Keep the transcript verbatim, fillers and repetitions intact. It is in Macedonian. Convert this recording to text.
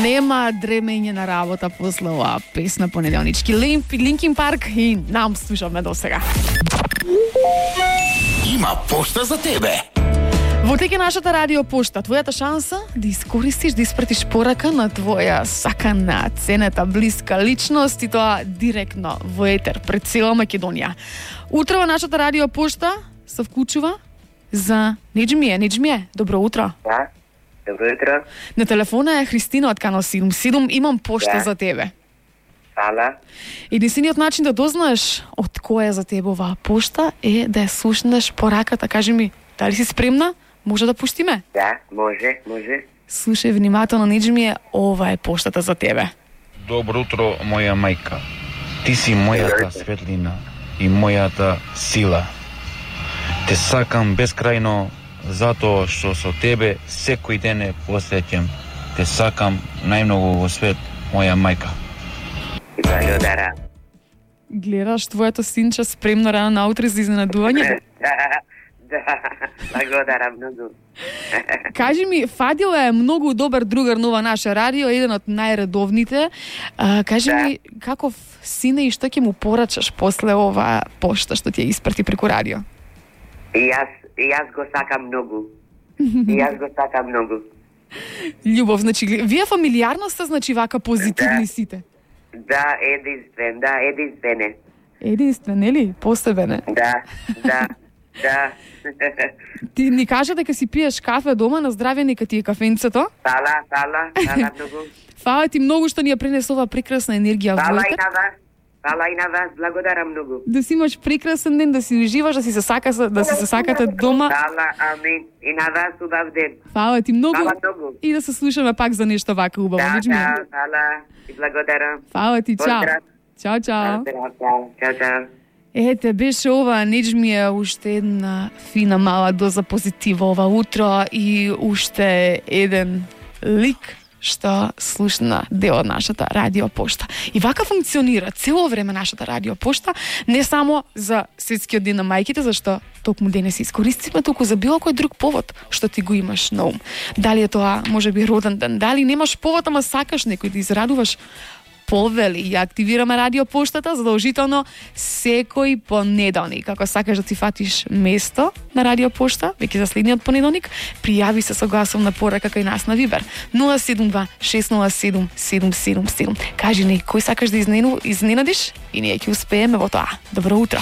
Нема дремење на работа после оваа песна понеделнички. Линкин Парк и нам слушаме до сега. Има пошта за тебе. Во теке нашата радио пошта, твојата шанса да искористиш да испратиш порака на твоја сакана, ценета, блиска личност и тоа директно во етер пред цела Македонија. Утро во нашата радио пошта се вклучува за Неџмие. Неџмие, добро утро. Да, добро утро. На телефона е Христина од Канал седум седум. Имам пошта Да. за тебе. Фала. Единствениот начин да дознаеш од која е за тебе оваа пошта е да ја слушнеш пораката. Кажи ми, дали си спремна? Може да пуштиме? Да, може, може. Слушај внимателно, Неџмие, ова е поштата за тебе. Добро утро, моја мајка. Ти си мојата светлина и мојата сила. Те сакам бескрајно затоа што со тебе секој ден е посреќен. Те сакам најмногу во свет, моја мајка. Благодарам. Гледаш твоето синче спремно рано наутре за изненадување? Да, благодарам многу. Кажи ми, Фадил е многу добар другар на ова наше радио, еден од најредовните. А, кажи Да. ми, каков сине и што ќе му порачаш после ова пошта што ти ја испрати преку радио? И јас, и јас го сакам многу. И јас го сакам многу. Љубов, значи, гле- вие фамилиарно сте, значи, вака позитивни Да. сите. Да, единствен, да, единствене. Единствен, нели? Посебен е. Да, да, да. Ти ни кажа дека си пиеш кафе дома, на здравје нека ти е кафенцето. Фала, фала, фала многу. Фала ти многу што ни ја пренесе ова прекрасна енергија во Фала и етер. на вас. Фала и на вас, благодарам многу. Да си имаш прекрасен ден, да си уживаш, да си се сака, да си се сакате дома. Фала, амин. И на вас убав ден. Фала ти многу. Фала многу. И да се слушаме пак за нешто вака убаво. Да, Неџмие. да, фала. И благодарам. Фала ти, чао. Поздрав. Чао, чао. Поздрав, чао, чао, чао. Ете, беше ова, Неџмие, уште една фина мала доза позитива ова утро и уште еден лик што слушна дел од нашата радио пошта. И вака функционира цело време нашата радио пошта, не само за светскиот ден на мајките, зашто токму денес искористиме, туку за било кој друг повод што ти го имаш на ум. Дали е тоа можеби роден ден, дали немаш повод, ама сакаш некој да израдуваш, повели и активираме радио поштата задолжително секој понеделник. Ако сакаш да ти фатиш место на радио пошта, веќе за следниот понеделник, пријави се со гласовна порака кај нас на Вибер нула седум два шест нула седум седум седум седум. Кажи ни кој сакаш да изненадиш и ние ќе успееме во тоа. Добро утро.